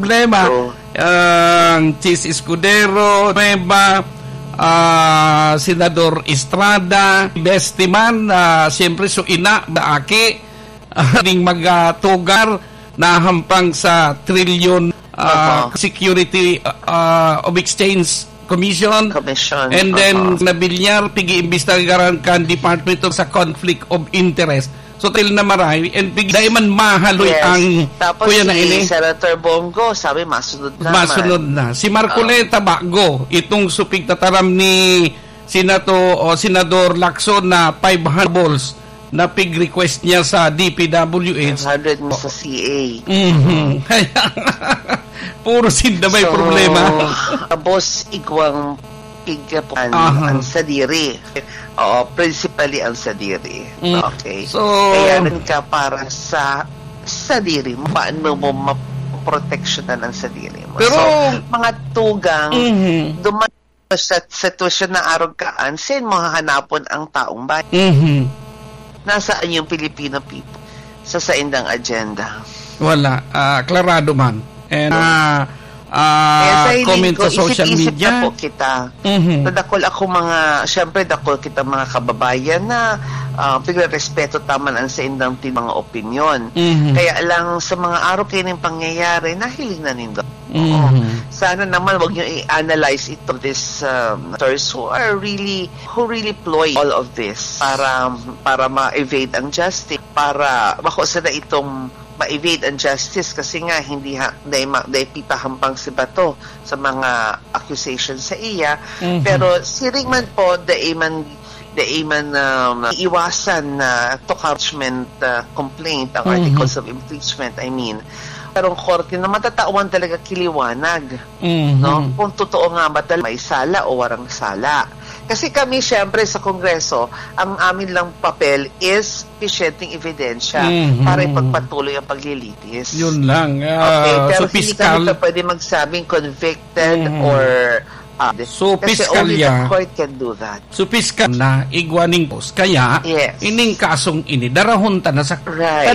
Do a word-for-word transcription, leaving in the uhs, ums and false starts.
problema. Ang Chiz Escudero, Nueva, ah, Senador Estrada, Bestiman, ah, siyempre, so ina, aki, ah, ning magatugar na hampang sa trilyon, ah, Opo. Security, ah, of Exchange Commission. Commission. And then, Opo. Nabilyar, pigi-imbestigaran kan Department of sa Conflict of Interest. So, tail na maray, and pig-, dai man mahaloy Yes. ang Tapos kuya na si ini. Senator Bong Go, sabi, masunod na Masunod man. na. Si Marcoleta Ah. Bago, itong supig tataram ni Senato-, o Senador Lacson na five hundred balls na pig-request niya sa D P W H. Five hundred mo sa C A. Mhm. Kaya, puro sinda may So, problema. Boss, igwang pigkapan Aha. ang sadiri. Oo, principally ang sadiri. Mm. Okay. So, Kaya rin ka para sa sadiri mo, paano mo maproteksyonan ang sadiri mo. Pero So, mga tugang, Mhm. duman sa sitwasyon na arog kaan, saan mo hahanapon ang taong bayan? Mhm. Nasaan yung Filipino people sa saindang agenda? Wala. Ah, klarado man. And, ah, ah, Kaya sa hiling comment ko, sa social isip-isip media. na po kita. Mhm. Sa dakul ako mga, syempre dakul kita mga kababayan na, ah, pigre-respeto taman ang saindang ti-, mga opinyon. Mhm. Kaya lang sa mga araw kayo ng pangyayari, nahiling na nindo. Oo. Mhm. Sana naman wag niyo i-analyze ito, this, um, actors who are really, who really ploy all of this para, para ma-evade ang justice, para bako sana itong ma-evade ang justice kasi nga hindi ha, dai ma-, dai pitahampang si Bato sa mga accusations sa iya. Mhm. Pero siring man po, dai man, dai man, um, iiwasan na to impeachment, uh, complaint, ang Mhm. articles of impeachment, I mean. Karong korte na matatawan talaga kiliwanag, Mhm. no? Kung totoo nga ba tal-, may sala o warang sala. Kasi kami, syempre, sa Kongreso, ang amin lang papel is supisyenteng ebidensya Mhm. para ipagpatuloy ang paglilitis. Yun lang. Ah, Okay, pero so hindi kami piskal. pa pwede magsabing convicted Mhm. or, ah, So, kasi only piskalya. the court can do that. So, piskal na igwa ning boss. Kaya, Yes. ining kasong ini, darahon ta na sa Right.